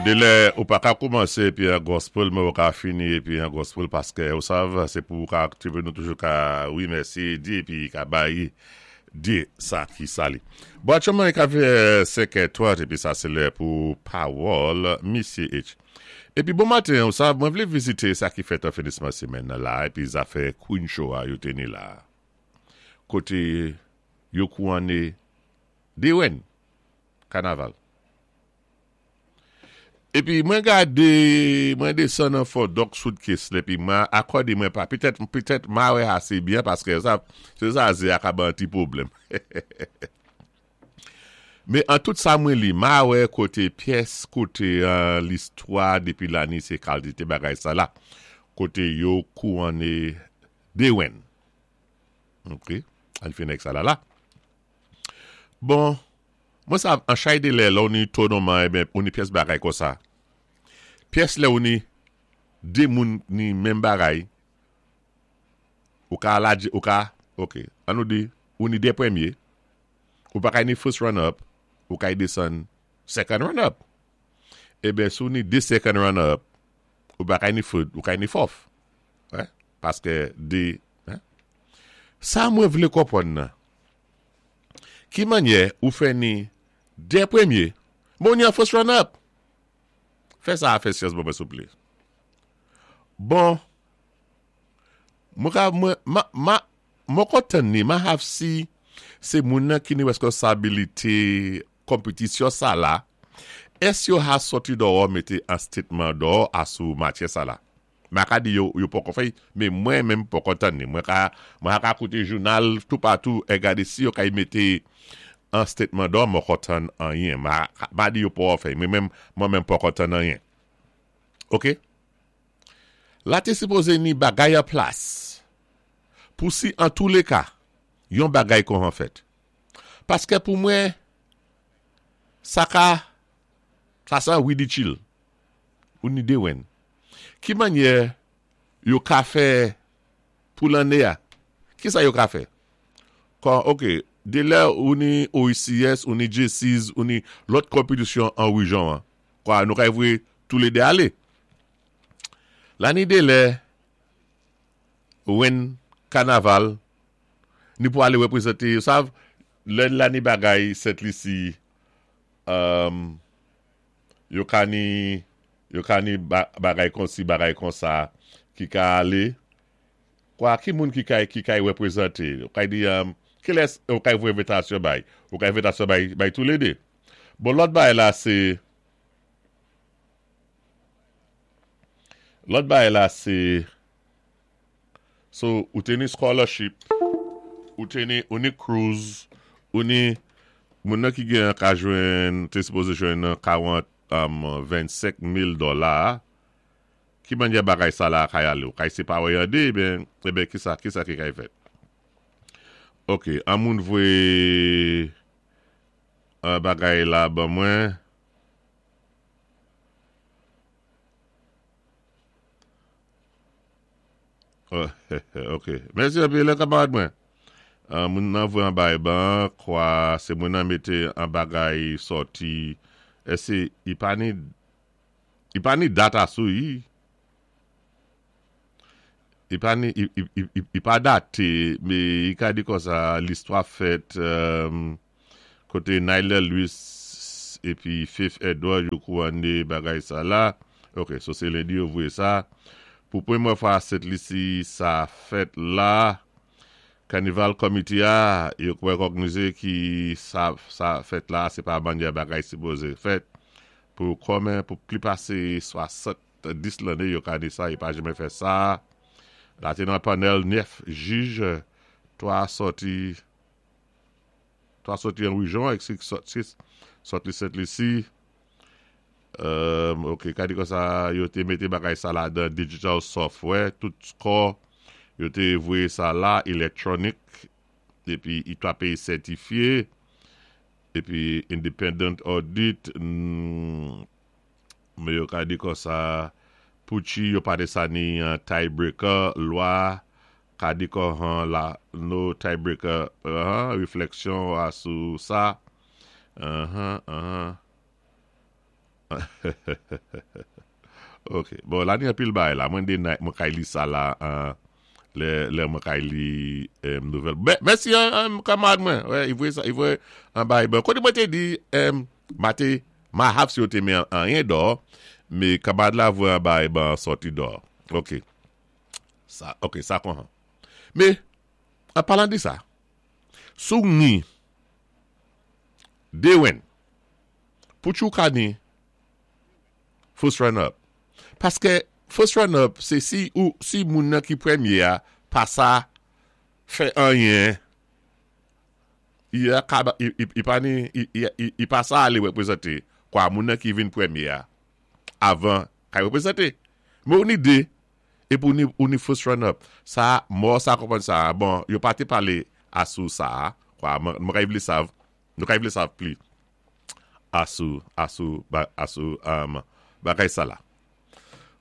Delè ou pa ka koumansé épi an gospel men ou ka fini épi an gospel paskè ou sav sé pou ou ka aktive nou toujou ka wi mèsi di épi ka bay di sa ki sa li. Bon aktyèlman li ka fè 5 è 30 épi sa sé lè pou pawòl misye H. Épi bon maten ou sav mwen vlé vizité sa ki fèt an finisman semèn nan la épi zafè Queen Show a yo té ni la koté yo kouwanné 2 rèn kanaval. Epi mwen gade, mwen desann an fò dòk suitcase la epi mwen akòde mwen pa, petèt, petèt ma wè ase byen paske sa, se sa ze a ka ban ti pwoblèm. Men an tout sa mwen li, ma wè kote pyès kote an listwa depi lane se kaldite bagay sa la, kote yo kouwanne dewenn. Ok, ann fè nèg sa la la. Bon, mwen sav an chay de lè lè w ni tonoman eben ou ni pyès bagay konsa. Pyès lè ou ni de moun ni menm bagay, ou ka aladje, ou ka, ok, an nou di, ou ni de premye, ou pa kay ni first runner up, ou kay desann second runner up. Eben si w ni de second runner up, ou pa kay ni third, ou kay ni fourth. Paske de, Sa mwen vle konprann nan. Ki mannyè ou fè ni 2 premye, men ou ni an first runner up? Fè sa a fè syans ban mwen souple. Bon, mwen ka, mwen, ma, ma, mwen ko tann ni, ma have si se moun nan ki ni reskonsabilite konpetisyon sa la, èske yo ha sòti dòwò mete an statement dòwò a sou matyè sa la? Ma ka di yo yo poko fè men mwen menm poko tann li. Mwen ka mwen a ka koute jounal toupatou e gade si yo kay mete an statement dò moko tann anyen. Ma ma di yo poko fè men menm mwen menm poko tann anyen. Ok. La te sipoze ni bagay an plas pou si an tou le ka yon bagay kon an fèt. Paske pou mwen sa ka sa san ridicule. Ou ni dewenn. Ki mannyè yo ka fè pou lanne a? Ki sa yo ka fè? Kon, ok, de lè ou ni OECS, ou ni Jaycees, ou ni lòt konpetisyon an rejyon an, kwa nou ka voye toulede ale. La ni de lè wen kanaval, ni pou ale reprezante, yo sav, lè la ni bagay Sent Lisi, um, Yo ka ni yo ka ni bagay konsi bagay konsa ki ka ale kwa ki moun ki kay ki kay reprezante ou kay di kilès ou kay voye envitasyon bay ou kay envitasyon bay bay toulede bon lòt bagay la se lòt bagay la se So ou te ni scholarship, ou te ni ou ni cruise, ou ni moun nan ki gen an ka jwenn te sipoze jwenn 40 25 mil dola ki mannyè bagay sa la kay ale ou kay separe an 2 eben eben kisa kisa ki kay fèt ok an moun voye bagay la ban mwen. Ok mèsi anpil kamarad mwen. Moun nan voye anba eban kwa se mwen nan mete an bagay sòti èske i pa ni i pa ni data sou i i pa ni i pa date me i ka di konsa listwa fèt Kote Nyler Louis epi Faith Edward yo kouwane bagay sa la. Ok, so se lendi yo voye sa. Pou premyè fwa Sent Lisi sa fèt la. Kanival Committee a, yo rekògnize ki sa sa fèt la se pa mannyè bagay sipoze fèt. Pou kòmen pou pli pase 70 lanne yo kane sa yo pa janmen fè sa. La te nan panèl 9 jij, 3 sòti. 3 soti an rijon ak 6 soti Sent Lisi. Ok, ka di konsa yo te mete bagay sa ladan digital software, tout score yo te voye sa la electronic epi i 3 peyi sètifye epi independent audit men yo ka di konsa Pucci yo pa de sa ni tie breaker lwa Kadi kòhan la no tiebreaker uh refleksyon a sou sa uh uh. Ok, bon la ni anpil bagay la. Mwen de night mwen kay li sa la lè lè mwen kay li nouvèl. Mèsi kamarad mwen. Wè, i voye sa, i voye an bagay ban. Kote mwen te di ma te ma haf si yo te men anyen dò, me kamarad la voye an bagay ban sòti dò. Ok. Sa, ok, sa kon han. Me, an palan de sa, sou ni de wen Pou tjou ka ni first runner up. Paske first runner up se si ou si moun nan ki premye a pa sa fè anyen i a ka i pa ni i pa sa ale reprezante kwa moun nan ki vin premye a avan ka reprezante. Men ou ni 2 epi ou ni ou ni first runner up sa mò sa konprann sa bon yo pa te pale a sou sa kwa mwen ka vle sav Nou kay vle sav pli asou asou asou bagay sa la.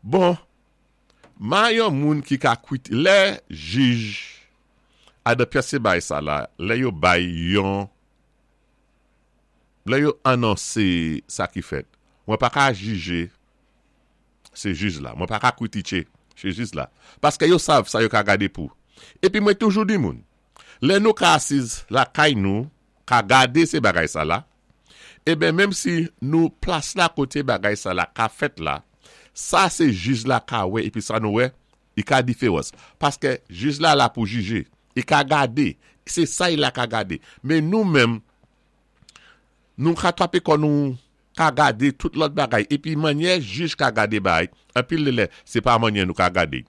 Bon ma yon moun ki ka kwit lè jij adan pyès se bay sa la lè yo bay yon lè yo anonse sa ki fèt mwen pa ka jije se jij la mwen pa ka kwitiche se jij la paske yo sav sa yo ka gade pou epi mwen toujou di moun Lè nou ka asiz lakay nou ka gade se bagay sa la, eben menm si nou plas la kote bagay sa la ka fèt la, sa se jij la ka wè epi sa nou wè, i ka diferans. Paske jij la la pou jije, i ka gade, se sa i la ka gade. Men nou menm, nou ka trape kò nou ka gade tout lòt bagay epi mannyè jij ka gade bagay anpil de lè se pa mannyè nou ka gade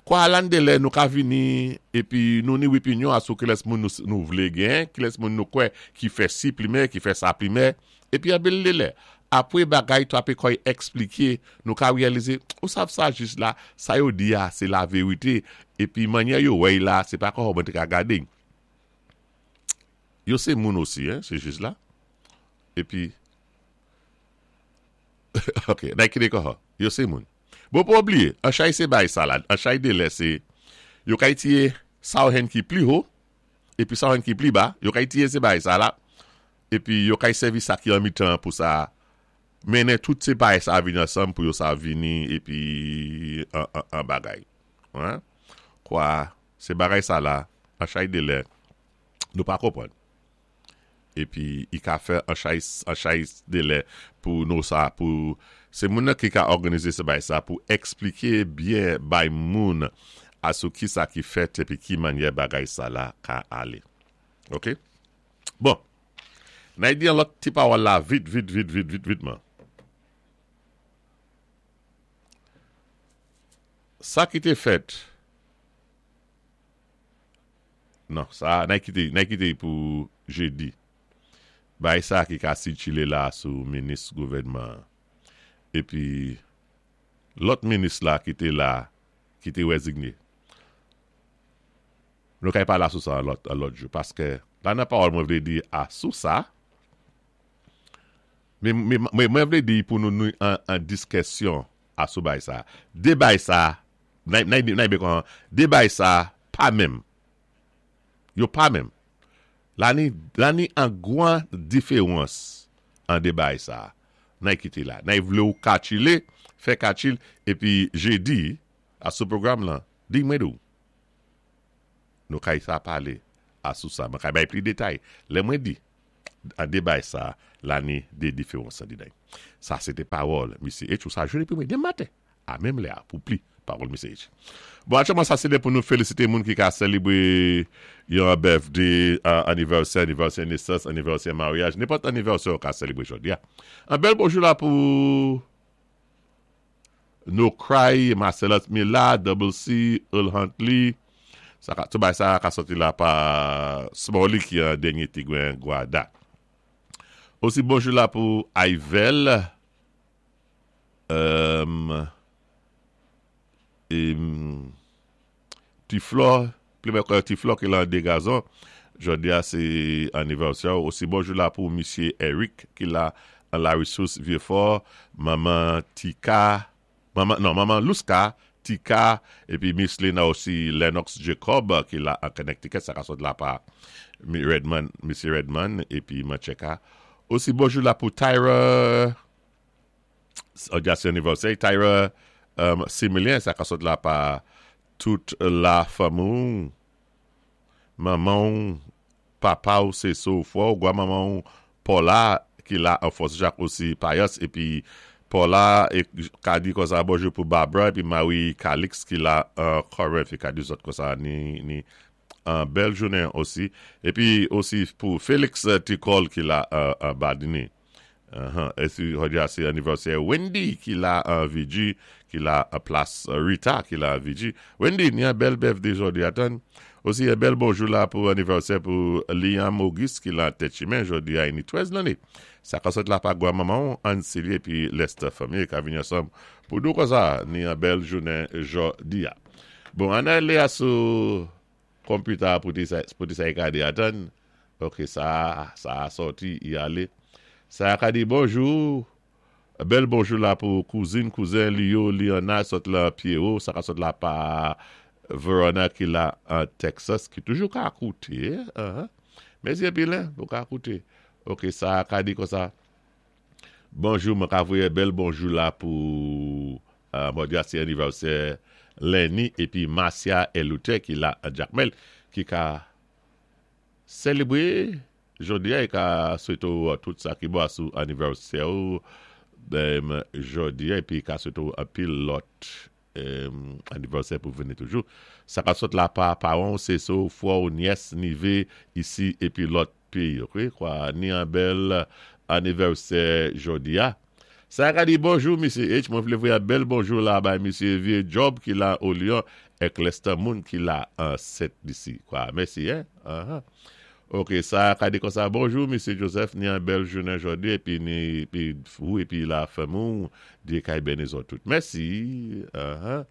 kwa alan de lè nou ka vini epi nou ni wipinyon a sou kilès moun nou vle gen kilès moun nou kwè ki fè si plimè ki fè sa plimè epi anpil de lè apre bagay trape kòy eksplike nou ka reyalize ou sav sa jij la sa yo di a se laverite epi mannyè yo wèy la se pa kòman mwen te ka gade yo se moun osi hein se jij la. Epi Ok nay kite kòhò Yo se moun Bon pou bliye an chay se bay salad an chay de lè se Yo kay tiye sa w hen ki pli ho Epi sa w hen ki pli ba Yo kay tiye se bay sa la Epi yo kay sèvi sa ki an mitan pou sa Mennen tout se bay sa vini ansanm pou yo sa vini epi an an an bagay Kwa se bagay sa la an chay de lè Nou pa konprann Epi i ka fè an chay an chay delè pou nou sa pou se moun nan ki ka òganize se bay sa pou eksplike byen bay moun a sou ki sa ki fèt epi ki mannyè bagay sa la ka ale ok bon nay di yon lòt ti pawòl la vit vit vit vit vit vitman sa ki te fèt. Non, sa a, nay kite, nay kite y pou jedi. Bay sa ki ka sikile la sou minis gouvènman an. Epi, lòt minis la ki te la, ki te rezigne. Nou kay pale asou sa an lòt, an lòt jou. Paske, la nan pawòl mwen vle di asou sa, men, men, mwen vle di pou nou nou an, an diskesyon asou bay sa. De bay sa, nay, nay, nay byen konprann, de bay sa pa menm. Yo pa menm. La ni la ni an gwan diferans an de bagay sa a. Nay kite la. Nay vle ou katchile, fè katchil epi jedi a sou pwogram lan, di mwen di w. Nou kay sa pale a sou sa. Mwen kay bay pli detay. Lè mwen di an de bagay sa a, la ni de diferans an di nay. Sa se te pawòl misye H ou sa jwenn epi mwen demen maten. A menm lè a pou pli pawòl Misye H. Bon aktyèlman sa se lè pou nou felisite moun ki ka selebre yon birthday, anivèsè, anivèsè nesans, anivèsè maryaj, nenpòt anivèsè ou ka selebre jodi a. An bèl bonjou la pou No Cry, Marcellus Mila, Double C, Earl Huntley, sa ka, tout bagay sa ka sòti la pa Smalley ki an dènye Tigwen Guada. Osi bonjou la pou Ayvel. Ti Flò, plimen kwè Ti Flò ki lan de gazon, jodi a se anivèsè ou. Osi bonjou la pou misye Eric ki la an la resous Vye Fò, manman Tika, manman non manman Louska, Tika, epi Miss Lena osi Lennox Jacob ki la an Connecticut, sa ka sot la pa Redman, misye Redman epi Mancheka. Osi bonjou la pou Tyra. Jòdi a sé anivèsè Tyra Similien, sa ka sot la pa tout la fanmi-w, manman-w, papa-w, sésé-w, frè-w, gwa manman-w Paula ki la an Fòs Jak osi Payas épi Paula ka di konsa bonjou pou Barbara épi Marie Calix ki la an Corinth li ka di zòt konsa ni ni an bèl jounen osi épi osi pou Felix Ticol ki la an Badini. Esi jodi a se anivèsè Wendy ki la an VG ki la an plas Rita ki la an VG. Wendy ni an bèl birthday jodi a tann. Osi yon bèl bonjou la pou anivèsè pou Liam Auguste ki la an Tèt Chimen jodi a li ni 13 lanné. Sa ka sot la pa gwa manman w Anne Cilie epi Lester fanmi ka vini ansanm pou di w konsa ni an bèl jounen jodi a. Bon ann ale a sou Computer a pou te sa pou te sa i ka di atann ok sa sa a sòti i ale sa a ka di bonjou bèl bonjou la pou kouzin kouzen li yo Liana sot lan Pierrot sa ka sot la pa Verona ki la an Texas ki toujou ka koute uh mèsi anpil hein pou ka koute ok sa a ka di konsa Bonjou mwen ka voye bèl bonjou la pou jodi a se anivèsè Lenny epi Marcia Eluther ki la an Jakmèl ki ka selebre jodi a e ka swete w tout sa ki bon sou anivèsè ou jodi a epi ka swete w anpil lòt anivèsè pou vini toujou sa ka sot la pa paran w sese w frè w nyès nive isi epi lòt peyi ok kwa ni an bèl anivèsè jodi a sa ka di bonjou misye H mwen vle voye an bèl bonjou la bay misye vye Job ki la o Lyon èk Lester moun ki la an Sent Lisi kwa mèsi hein ahan ok sa ka di konsa bonjou misye Joseph ni an bèl jounen jodi epi ni epi ou epi la fanmi w Dye kay beni zòt tout mèsi ahan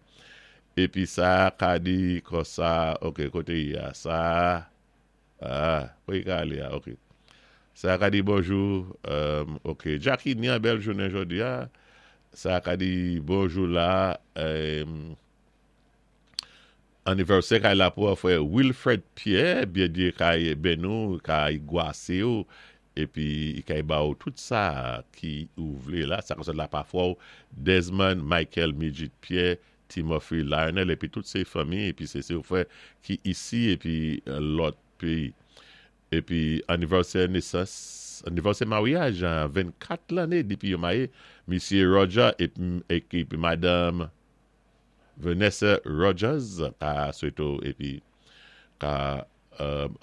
epi sa ka di konsa ok kote y a sa Ah kote ka ale a ok. Sa ka di bonjou ok Jacky ni an bèl jounen jodi a sa ka di bonjou la anivèsè kay la pou frè Wilfred Pierre Bndye kay beni w kay gwase w epi kay ba w tout sa ki ou vle la sa ka sot la pa frè w Desmond Michael Midjit Pierre Timothy Lionel epi tout se fanmi epi se se frè ki isi epi lòt peyi epi anivèsè nesans anivèsè maryaj 24 lane depi yo maye misye Roger epi madanm Vanessa Rogers ka swete w epi ka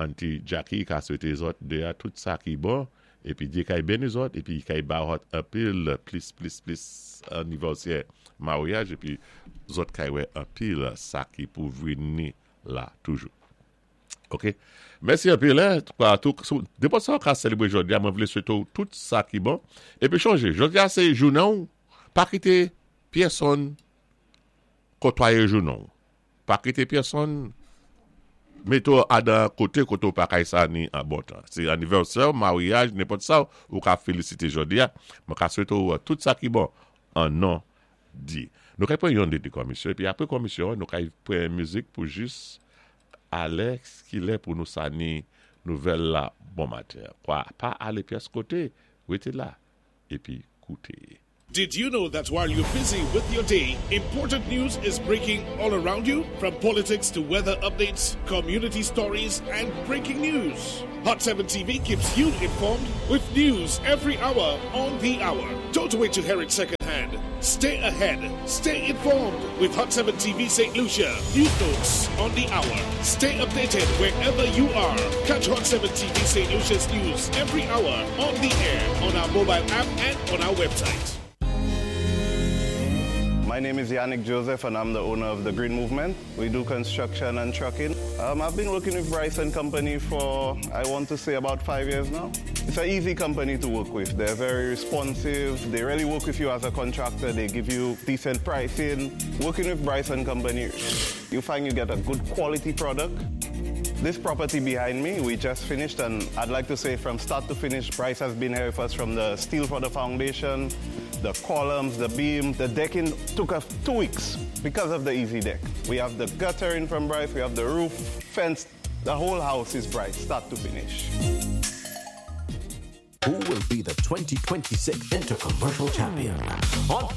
Auntie Jackie ka swete zòt 2 a tout sa ki bon epi Dye kay beni zòt epi kay ba zòt anpil plis plis plis anivèsè maryaj epi zòt kay wè anpil sa ki pou vini la toujou ok mèsi anpil nenpòt sa ou ka selebre jodi a mwen vle swete w tout sa ki bon epi chonje jodi a se jounen w pa kite pyèsonn kotwaye jounen w. Pa kite pyèsonn mete w adan kote kote w pa kay sa ni an bon tan. Se anivèsè w, maryaj, nenpòt sa ou ka felisite jodi a, mwen ka swete w tout sa ki bon an non Dye. Nou kay pran yon de de kòmisyon epi apre kòmisyon an nou kay pran mizik pou jis alè kilè pou nou sa ni nouvèl la bon maten an. Kwa pa ale pyès kote, rete la epi koute. Did you know that while you're busy with your day, important news is breaking all around you? From politics to weather updates, community stories, and breaking news. Hot 7 TV keeps you informed with news every hour on the hour. Don't wait to hear it secondhand. Stay ahead, stay informed with Hot 7 TV St. Lucia. News notes on the hour. Stay updated wherever you are. Catch Hot 7 TV St. Lucia's news every hour on the air on our mobile app and on our website. My name is Yannick Joseph and I'm the owner of the Green Movement. We do construction and trucking. Um, I've been working with Bryce and Company for, I want to say, about five years now. It's an easy company to work with. They're very responsive. They really work with you as a contractor. They give you decent pricing. Working with Bryce and Company, you find you get a good quality product. This property behind me, we just finished, and I'd like to say from start to finish, Bryce has been here with us from the steel for the foundation, the columns, the beam, the decking took us two weeks because of the easy deck. We have the guttering from Bryce, we have the roof, fence, the whole house is Bryce, start to finish. Who will be the 2026 Intercommercial Champion? On